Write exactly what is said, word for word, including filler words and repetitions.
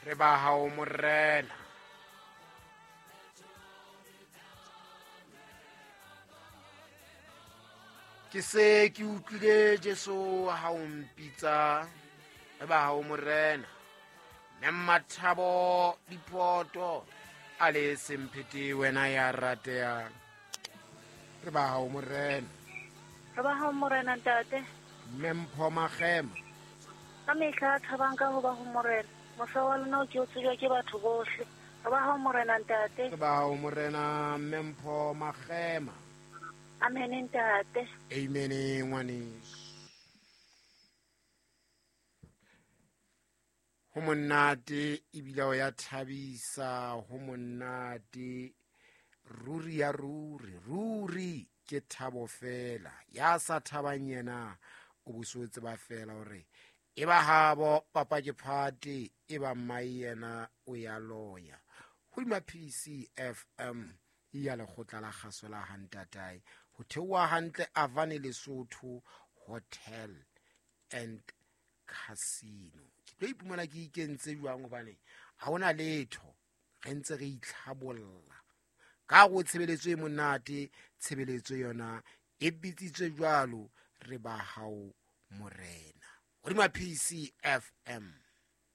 Re ba hao morena. Ke se ke utlwile Jesu ha o mpitsa, re ba hao morena. Mme Mathabo Dipoto a le semphete wena ya ratehang. Re ba hao morena. Re ba hao morena ntate. Mme Mpho Magema. Ka mehla thabang ka ho ba ho morena. Mosa wa lona o ke o tsejwa ke batho bohle. Re ba hao morena ntate. Re ba hao morena Mme Mpho Magema. Amen ntate. Amen ngwaneso. Ho monate ebile o ya thabisa, ho monate ruri ya ruri, ruri ke thabo fela. Ya sa thabang yena o buso tseba fela hore e ba habo papa ke phate, e ba mai yena o ya loya. Hodima P C F M ya lekgotla la kgaso la Hantatae, ho theoha hantle Avane Lesotho Hotel and Casino. Ke tlo ipumana ke ikentse jwang hobane ha hona letho, re ntse re itlhabolla ka go tshebeletso e monate. Tshebeletso yona e bitsitswe jwalo, re ba hao morena. Hodima P C F M.